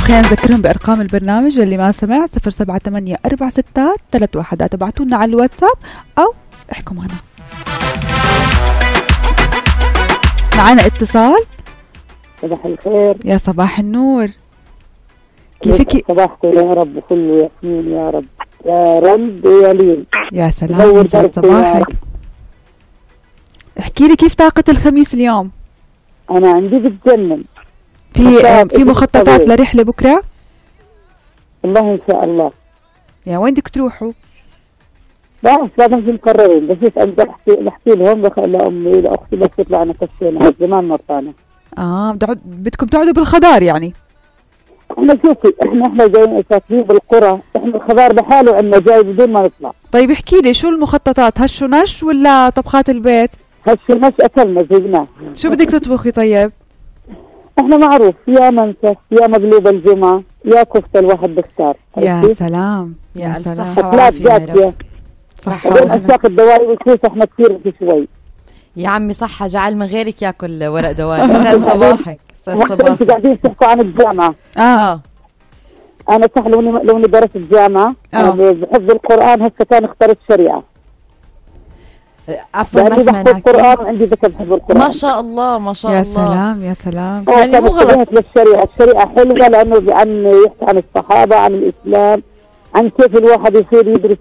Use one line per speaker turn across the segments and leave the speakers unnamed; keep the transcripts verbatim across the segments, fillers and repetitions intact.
خلينا نذكرهم بأرقام البرنامج اللي ما سمع صفر سبعة ثمانية أربعة ستة ثلاث واحدات. ابعتونا على الواتساب أو احكوا معنا. معنا اتصال.
صباح الخير.
يا صباح النور، كيفك؟
صباحكم يا رب وكله ياسمين يا رب، يا رب يا لين.
يا سلام، يسعد صباحك. احكي لي كيف طاقة الخميس اليوم؟
أنا عندي بتجنن.
في في مخططات لرحلة بكرة؟
والله إن شاء الله.
يا وين بدك تروحوا؟
بس لازم في مقررين، بس أنا بحكي بحكي لهم لأمي لأختي بس يطلعنا كشينا زمان ما طلعنا.
اه بدكم تقعدوا بالخضار يعني؟
احنا شوفي احنا احنا جايين ساكنين بالقرى، احنا الخضار بحاله عندنا جاي بدون ما نطلع.
طيب احكي لي شو المخططات؟ هشو نش ولا طبخات البيت؟
هشو نش اكلنا جبناه.
شو بدك تطبخي طيب؟
احنا معروف يا منسف يا مقلوب الجمعة يا كفتة الواحد بختار.
يا سلام
يا ألف صحة
وعافية يا رب.
صحة
وعافية. أشياء الدوائر والكوسة احنا كثير في شوي.
يا عمي صحة، جعل من غيرك ياكل ورق دوائر. سعد صباحك. سعد صباحك.
قاعدين تحكوا عن الجامعة.
اه
أنا صح لوني لوني درست الجامعة. أنا بحفظ القرآن، هسه كان اخترت شريعة.
عفوا ما سمعناك.
القرآن عندي ذكر بحفظ القرآن.
ما شاء الله ما شاء
يا
الله.
يا سلام يا سلام.
يعني مو غلط
للشريعة، الشريعة حلوة لأنه عن يحكي عن الصحابة، عن الإسلام، عن كيف الواحد يصير يدرس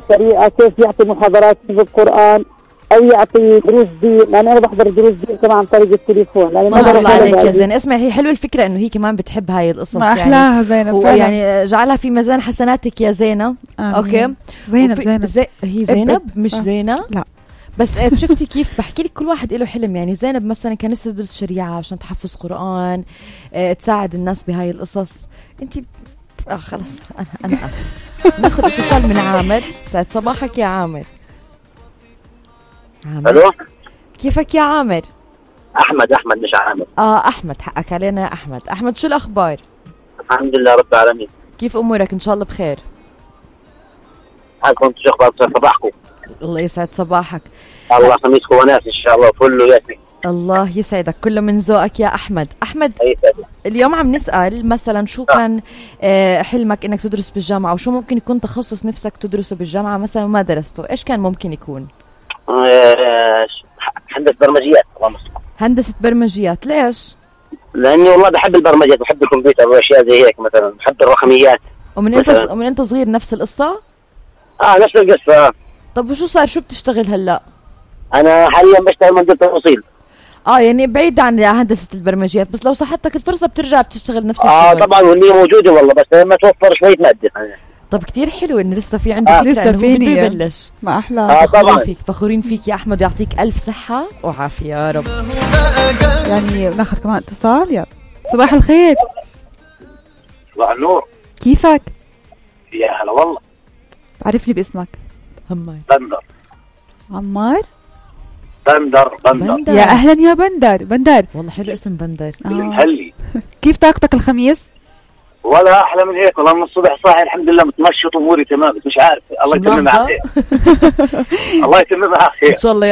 شريعة، كيف يعطي محاضرات في القرآن أو يعطي دروس دين. لأن أنا بحضر دروس دين كمان عن طريق التليفون.
ما شاء الله عليك يا زين. اسمع، هي حلوة الفكرة إنه هي كمان بتحب هاي القصص.
ما أحلاها يعني زينب فعلا.
يعني جعلها في ميزان حسناتك يا زينة. أوكي
زينب زينب
زي... هي زينب مش
آه.
زينة.
لا
بس شفتي كيف بحكي لك كل واحد له حلم. يعني زينب مثلا كان نفسها تدرس شريعة عشان تحفظ قرآن، اه تساعد الناس بهاي القصص. انت اه خلص انا انا اسف. ناخذ اتصال من عامر. سعد صباحك يا عامر. عامر
الو،
كيفك يا عامر؟
احمد احمد مش عامر.
اه احمد، حقك علينا يا احمد. احمد شو الاخبار؟
الحمد لله رب العالمين.
كيف امورك؟ ان شاء الله بخير.
حالكم شو اخبار صباحكم؟
الله يسعد صباحك.
الله خميسكم وناس ان شاء الله كله ياسمين.
الله يسعدك، كله من ذوقك يا احمد. احمد
يسعدك.
اليوم عم نسال مثلا شو كان آه حلمك انك تدرس بالجامعه، وشو ممكن يكون تخصص نفسك تدرسه بالجامعه مثلا وما درسته؟ ايش كان ممكن يكون؟
آه هندسه برمجيات. اللهم صل.
هندسه برمجيات. ليش؟
لاني والله بحب البرمجيات، بحب الكمبيوتر واشياء زي هيك، مثلا بحب الرقميات.
ومن انت ومن انت صغير نفس القصه؟
اه نفس القصه. آه.
طب وشو صار؟ شو بتشتغل هلا؟
انا حاليا بشتغل مندوب توصيل.
اه يعني بعيد عن هندسه البرمجيات، بس لو صحتك الفرصه بترجع بتشتغل نفس الشيء.
اه طبعا، واللي موجوده والله، بس لما توفر شويه ماده.
طب كتير حلو ان لسه في عندك
آه.
لسه فيني يبلش.
ما احلى.
آه
فخورين فيك، فخورين فيك يا احمد، يعطيك الف صحه وعافيه يا رب.
يعني بناخذ كمان اتصال. يلا صباح الخير.
صباح النور.
كيفك؟
يا هلا والله.
عرفني باسمك.
هماي
بندر.
عمار.
بندر بندر,
بندر.
يا اهلا يا بندر. بندر
والله حلو اسم بندر.
آه.
المحلي.
كيف طاقتك الخميس؟
ولا احلى من هيك والله. من الصبح صاحي الحمد لله، متنشط اموري تمام، بس مش عارف. الله يتمم على خير. الله يتمم على خير
ان شاء الله.